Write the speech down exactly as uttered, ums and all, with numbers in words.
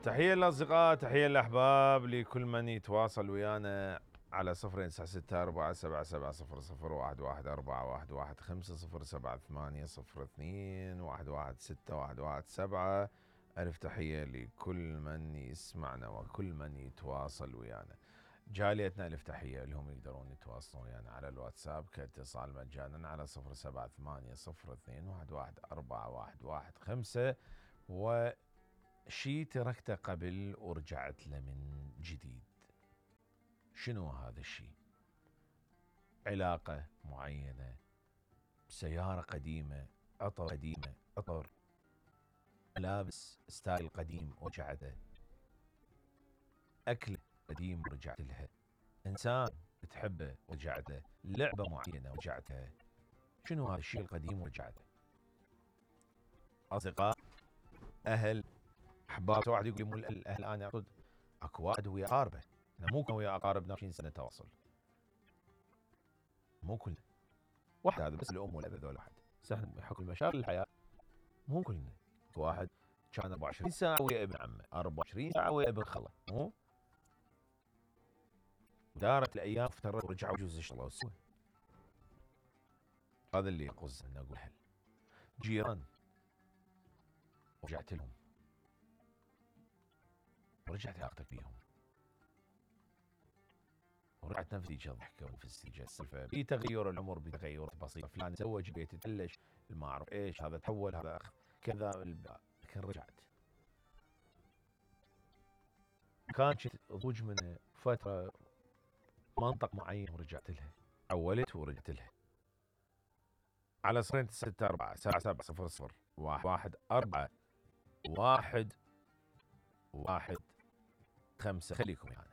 تحية للأصدقاء، تحية للأحباب، لكل من يتواصل ويانا على صفرين تسعة ستة أربعة سبعة سبعة صفر صفر واحد واحد أربعة واحد واحد خمسة صفر سبعة ثمانية صفر اثنين واحد واحد ستة واحد واحد سبعة. ألف تحية لكل من يسمعنا وكل من يتواصل ويانا. جاليتنا ألف تحية لهم يقدرون يتواصلون ويانا على الواتساب كاتصال مجانا على صفر سبعة ثمانية صفر اثنين واحد واحد أربعة واحد واحد خمسة. وشي تركته قبل ورجعت له من جديد. شنو هذا الشيء؟ علاقة معينة، سيارة قديمة، عطر قديمة، عطر، ملابس ستايل قديم ورجعته، أكل قديم ورجعت لها، إنسان تحبه ورجعت له، لعبة معينة ورجعت لها. شنو هذا الشيء القديم ورجعت له؟ أصدقاء، أهل، أحباب. واحد يقول لي مو الأهل، أنا أقصد أكو واحد ويا أقاربه. أنا مو كنا ويا أقاربنا عشرين سنة تواصل، مو كلنا. واحد هذا بس الأم والأب ذول واحد. سهل بحكم مشاغل الحياة مو كلنا. واحد كان أربعة وعشرين ساعة ويا ابن عمه، أربعة وعشرين ساعة ويا ابن خله، مو؟ دارت الأيام افترت ورجعوا جوز اشتغلوا سوا. هذا اللي يقصد أن أقول. أهل، جيران، ورجعت لهم، ورجعت علاقتك بيهم، ورجعت نفسي ضحكة ونفسي السالفة. بتغير العمر، بتغير بسيط، فلان تزوج، بيت تبلش، ما أعرف إيش، هذا تحول، هذا كذا، لكن رجعت. كانت تضوج من فترة منطق معين ورجعت لها، حولت ورجعت لها. على صفرين ستة أربعة سبعة سبعة صفر صفر واحد واحد أربعة واحد واحد خمسة. خليكم يعني.